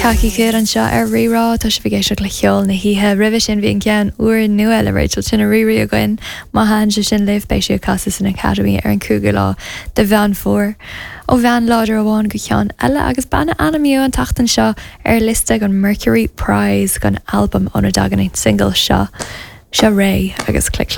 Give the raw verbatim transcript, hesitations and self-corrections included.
Cací anseo ar Rí-Rá tá sibh ag éisteacht le ceol na hoíche roimhe sin bhí an ceann úrnua le Rachel Chinouriri againn má thaitin sé sin libh beidh sí ag casadh san Academy ar an cúigiú lá de Mheán Fómhair. Ó bhean láidir amháin go ceann eile agus bean a ainmníodh an tseachtain seo ar liosta an Mercury Prize don albam óna dtagann an single seo seo Raye agus Click